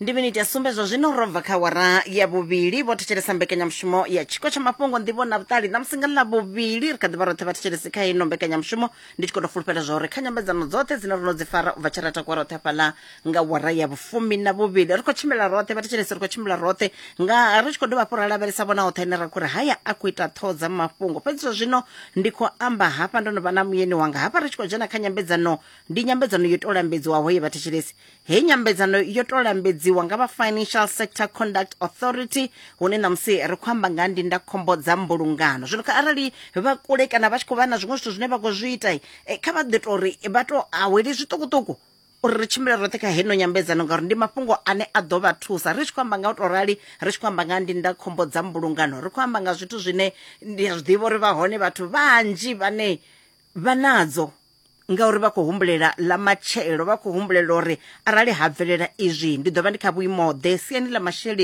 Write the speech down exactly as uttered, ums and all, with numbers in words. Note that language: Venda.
Ndi miniti ya sumbe zwa zwino ro bva kha wara ya vhuvhili. Vho thetshelesa mbekanyamushumo ya Tshiko tsha Mafhungo, Nḓivho na Vhuṱali. Ṋamusi nga ḽa vhuvhili ri kha ḓi vha roṱhe, vhathetshelesi, kha ino mbekanyamushumo. Ndi tshi khou tou fulufhela zwa uri kha nyambedzano dzoṱhe dzine ro no dzi fara u bva tshe ra takuwa roṱhe hafhaḽa nga wara ya vhufumi na vhuvhili, ri khou tshimbila roṱhe, vhathetshelesi, ri khou tshimbila roṱhe nga ri tshi khou dovha hafhu ra lavhelesa vhona hoṱhe ane ra khou ri haya a khou ita ṱhoho dza mafhungo. Fhedzi zwa zwino ndi khou amba hafha ndo no vha na muyeni wanga hafha, ri tshi khou dzhena kha nyambedzano. Ndi nyambedzano yo tou lambedziwaho ye, vhathetshelesi. Heyi nyambedzano yo tou lambedziwa nga vha Financial Sector Conduct Authority, hune ṋamusi ri khou amba nga ndindakhombo dza mbulungano. Zwino kha arali vha kule kana vha tshi khou vha na zwiṅwe zwithu zwine vha khou zwi ita, eh, kha vha ḓi tou ri vha tou aweli zwiṱukuṱuku uri ri tshimbile roṱhe kha heno nyambedzano, ngauri ndi mafhungo ane a ḓo vha thusa. Ri tshi khou amba nga u tou rali, ri tshi khou amba nga ndindakhombo dza mbulungano, ri khou amba nga zwithu zwine ndi a zwi ḓivha uri vha hone vhathu vhanzhi vhane vha nadzo, ngauri vha khou humbulela ḽa matshelo, vha khou humbulela uri arali ha bvelela izwi ndi ḓo vha ndi kha vhuimo ḓe siani ḽa masheleni.